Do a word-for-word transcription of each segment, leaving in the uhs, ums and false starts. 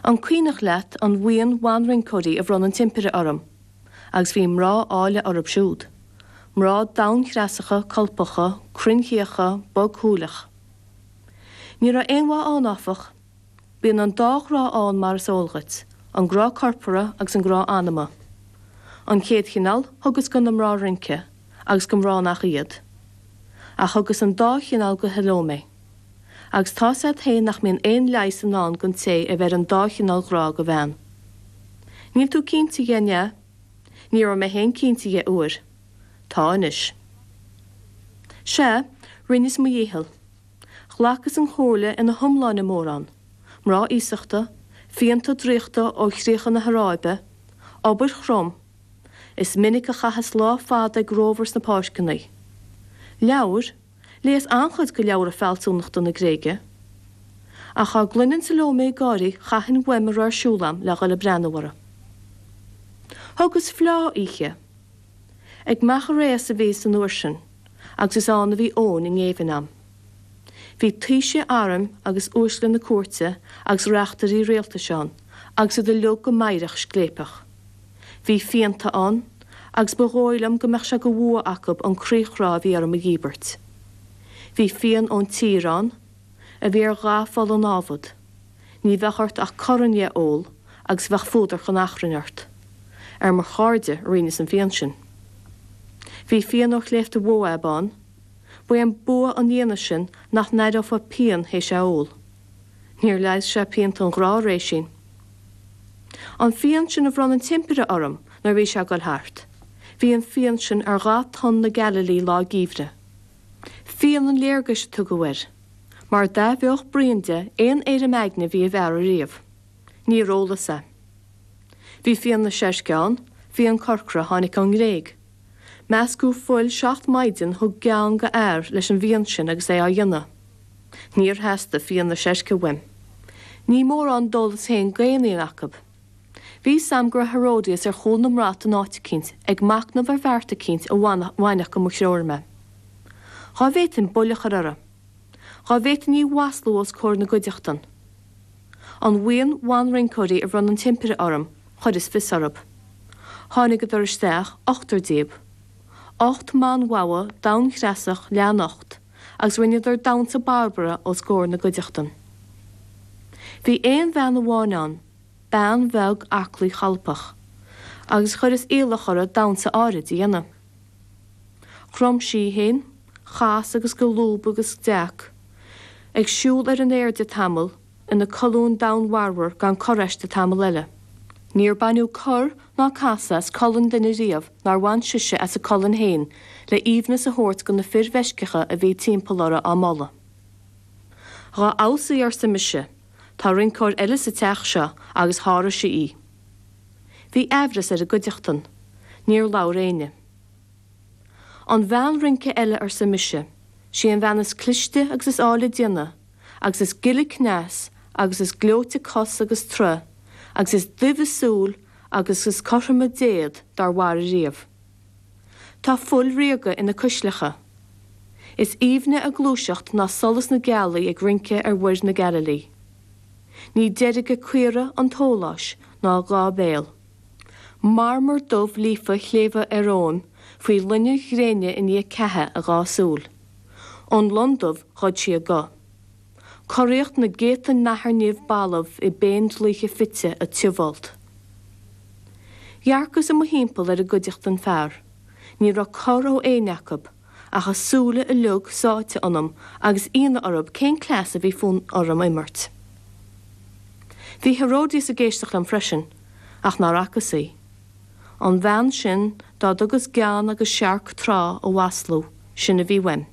An cuimhneach leat an bhuíon bhanrinceoirí a bhronn an tImpire orm, agus bhí mná áille orthu siúd. Mná domhanchreasacha, colpacha, cruinnchíocha, bogshúileach. Ní raibh aon mhaith ann áfach. Bíonn an dá ghrá ann mar is eol dhuit, an grá corpartha agus an grá anama. An chéad chineál thugas do na mná rince agus do mhná nach iad. Ach thugas an dá chineál do Shalómé. Agus tá's agat féin nach mbíonn aon leigheas i ndán don té a bheir an dá chineál grá do bhean. Níl tú cinnte dhe, an ea? Ní raibh mé féin cinnte dhe uair. Tá anois. Sea, rinneas mo dhícheall. Ghlacas an chomhairle ina hiomláine mórán, mná iasachta, fíonta draíochta ó chríocha na hAráibe, obair throm. Is minic a chaitheas lá fada ag rómhar sna páirceanna. Leabhair, Léas an-chuid de leabhra fealsúnachta na Gréige. Ach dá gcluinfinn Salómé ag gáirí chaithfinn uaim a raibh ar siúl a'm le dhul ag breathnú uirthi. Thugas fleá oíche. Ag Machaire a bhíos an uair sin, agus is ann a bhí Eoin i ngéibheann a'm. Bhí taoisigh airm agus uaisle na cúirte agus reachtairí rialtais ann, agus iad uilig go meidhreach scléipeach. Bhí fíonta ann, agus ba dhóigh liom go mbeadh sé de bhua acu an croíchrá a bhí orm a dhíbirt. Bhí fíon ón tír ann, a bhí ar dhath fola námhad. Ní bheadh ort ach corn dhe a ól agus bheadh fuadar chun achrainn ort. Ar mo chairde a rinneas an fíon sin. Bhí fíon ó shléibhte Mhóáb ann, ba é an bua an fhíona sin nach n-aireofá pian théis é a ól. Níor leigheas sé pianta an ghrá, a Réisín. An fíon sin a bhronn an tImpire orm nuair a bhí sé ag dul thart. Bhí an fíon sin ar dhath tonn na Galailí lá geimhridh. Fíon an léargais a tugadh air, mar d'athbheodh braon de aon éirim aigne a bhí i bhfear ariamh. Níor ólas é. Bhí fíon na seirce ann, fíon corcra a tháinig ón nGréig. Meascadh fuil seacht maighdean thug gean do fhear leis an bhfíon sin agus é á dhéanamh. Níor theastaigh fíon na seirce uaim. Ní mórán d'ólas féin d'aon fhíon acu. Bhí 'fhios a'm go raibh Herodias ar chúl na mbrat in áit eicínt ag machnamh ar bheart eicínt a bhainfeadh de mo threoir mé. Dhá bhféadfainn buille a chur uirthi. Dhá bhféadfainn í a mhaslú os comhair na gcuideachtan. An bhuíon bhanrinceoirí a bhronn an tImpire orm, chuireas fios orthu. Tháinigeadar isteach, ochtar díobh. Ocht mbanbhogha domhanchreasach leathnocht, agus rinneadar damhsa Barbara os comhair na gcuideachtan. Bhí aon bhean amháin ann, bean bheag aclaí cholpach, agus chuireas iallach uirthi damhsa áirid a dhéanamh. Chrom sí í féin, chas agus go lúb agus d'éag, ag siúl ar an airde tamall ina colún domhainmharmar gan cor aisti tamall eile. Níor baineadh cor ná casadh as colainn duine riamh nár bhain sise as a colainn féin le haoibhneas a thabhairt do na fir mheisceacha a bhí timpeall uirthi á moladh. Dhá fheabhas í, arsa mise, tá rinceoir eile sa teach seo agus sháraigh sí í. Bhí aimhreas ar an gcuideachtain. Níor labhair éinne. An bhean rince eile, arsa mise, sí an bhean is cliste agus is áille déanamh, agus is gile cneas agus is gleoite cos agus troith, agus is duibhe súil agus is cothroime déad dár mhair ariamh. Tá fuil ríoga ina cuisleacha. Is aoibhne a gluaiseacht ná solas na gealaí ag rince ar mhuir na Galailí. Ní deirge caora an tsóláis ná a dhá béal. Marmar dubh líofa shléibhe Fhearmóin faoi loinnir ghréine i ndiaidh ceatha a dhá súil. Ón lon dubh ghoid sí a guth. Coraíocht na gcéadta nathair nimh balbh i bpéindlíthe fite a tiubhfholt. Dhearcas i mo thimpeall ar an gcuideachtain fear. Ní raibh cor ó éinne acu, ach a súile uilig sáite ionam agus ionadh orthu cén cleas a bhí fonn orm a imirt. Bhí Herodias ag éisteacht liom freisin, ach nár fhacas í. An bhean sin dá dtugas gean agus searc tráth a mhaslú, sin a bhí uaim.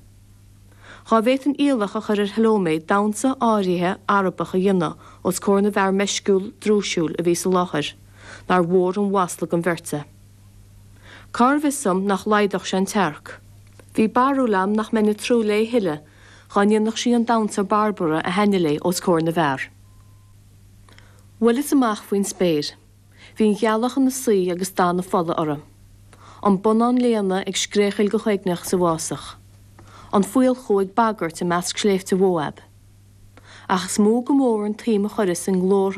Dhá bhféadfainn iallach a chur ar Shalómé damhsa áirithe Arabach a dhéanamh os comhair na bhfear meisciúil drúisiúil a bhí sa láthair, nár mhór an mhasla don bheirt é. Cárbh fhios dom nach laghdódh sé an tsearc? Bhí barúil a'm nach mbeinn ag trú léi a thuilleadh dhá ndéanfadh sí an damhsa Barbara a thaitnigh léi os comhair na bhfear. Bhuaileas amach faoin spéir. Bhí an ghealach ina suí agus dath na fola uirthi. An bonnán léana ag scréachaíl go huaigneach sa bhfásach. An faolchú ag bagairt i measc sléibhte Mhóáb. Ach is mó go mór an tsuim a chuireas i nglórtha